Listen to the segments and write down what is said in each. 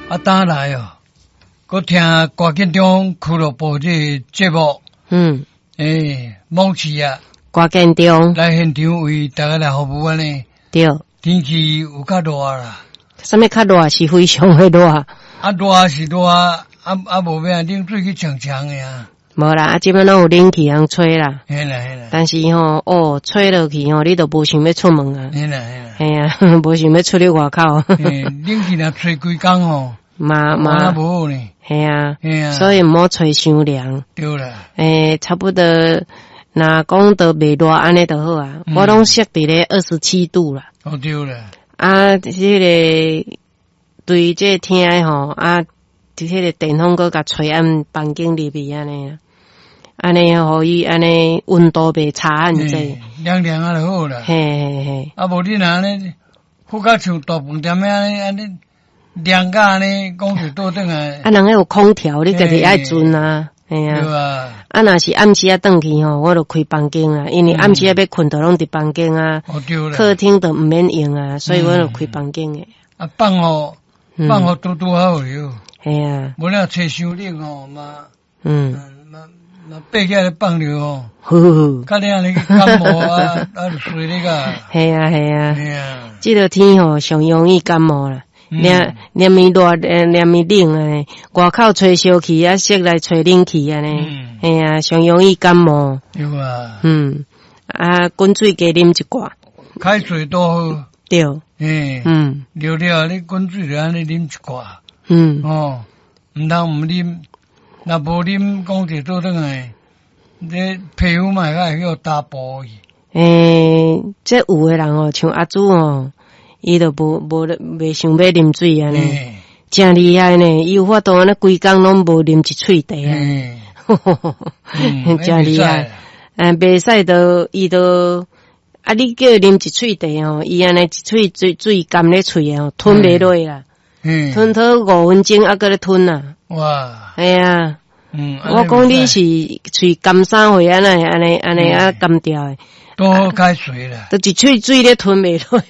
啊，當來哦，閣聽歌建中俱樂部這個節目，欸，網市啊，歌建中來現場為大家來服務按呢。對。天氣有較熱啦。啥物較熱？是非常的熱。啊，熱是熱，啊啊，無欲冷水去沖沖的啊。無啦，啊，這擺攏有冷氣通吹啦。嘿啦嘿啦。但是吼，哦，吹落去吼，你就無想欲出門啊。嘿啦嘿啦。嘿啊，無想欲出去外口。嘿，冷氣若吹規工吼，嘛嘛無好呢。嘿啊，嘿啊。所以毋好吹傷涼。對啦。欸，差不多，若講都袂熱按呢就好啊。我攏設佇咧27度啦。哦，對啦。啊，這個對這個廳的吼，啊，這個電風閣共吹按房間入去按呢，按呢予伊按呢溫度袂差按濟。涼涼啊就好啦。嘿嘿嘿。啊，無你若按呢，好甲像大飯店按呢按呢涼甲按呢，講就倒轉來。啊，人彼有空調，你家己愛存啊，嘿啊。對啊。啊，若是暗時仔轉去吼，我就開房間啊，因為暗時仔欲睏就攏佇房間啊。哦，對啦。客廳就毋免用啊，所以我就開房間的。啊，放予放予拄拄好了。嘿啊。無你若吹傷冷吼嘛，嘛嘛爬起來放著吼。呵呵。較你按呢感冒啊，啊就衰你個。嘿啊嘿啊。嘿啊。這個天吼上容易感冒啦。連連暝熱，連暝冷按呢，外口吹燒氣啊，室內吹冷氣按呢，嘿啊，上容易感冒。對啊。啊，滾水加啉一寡。開水都好。對。嘿。熱了你滾水就按呢啉一寡。哦，毋通毋啉，若無啉，講者倒轉來，你皮膚嘛會較會去打破去。欸，這有的人哦，像阿祖哦，伊就無無袂想欲啉水按呢，誠厲害呢！伊有法度按呢規工攏無啉一喙茶啊，誠厲害。嗯，袂使都伊都啊，你叫伊啉一喙茶吼，伊按呢一喙水水含咧喙吼，吞袂落啦，吞好5分鐘猶閣咧吞啊。哇！嘿啊，我講你是喙乾啥貨按呢按呢按呢啊乾掉的。多好開水啦，都一喙水咧吞袂落。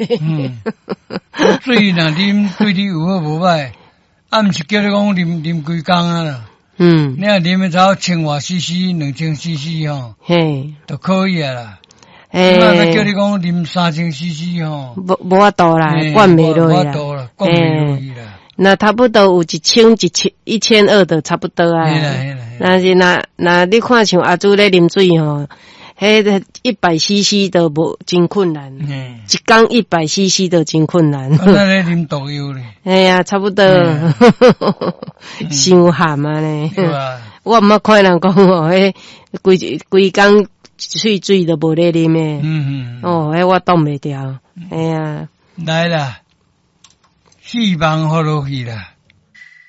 水若啉對你有好無歹，啊，毋是叫你講啉啉規工啊啦。你若啉的才千外 CC、2000 CC 吼，就可以啊啦。欸，若叫你講啉3000 CC 吼，無無法度啦，灌袂落啦。無法度啦，灌袂落去啦。那差不多有一千1200就差不多啊。若是若若你看像阿祖咧啉水吼，彼個100 CC 都無真困難，一工100 CC 都真困難。啊，咧啉毒藥咧？嘿啊，差不多，傷鹹啊呢。我毋捌看人講哦，彼規規工一喙水都無咧啉的。哦，彼我擋袂牢。嘿啊。來啦，希望予落去啦。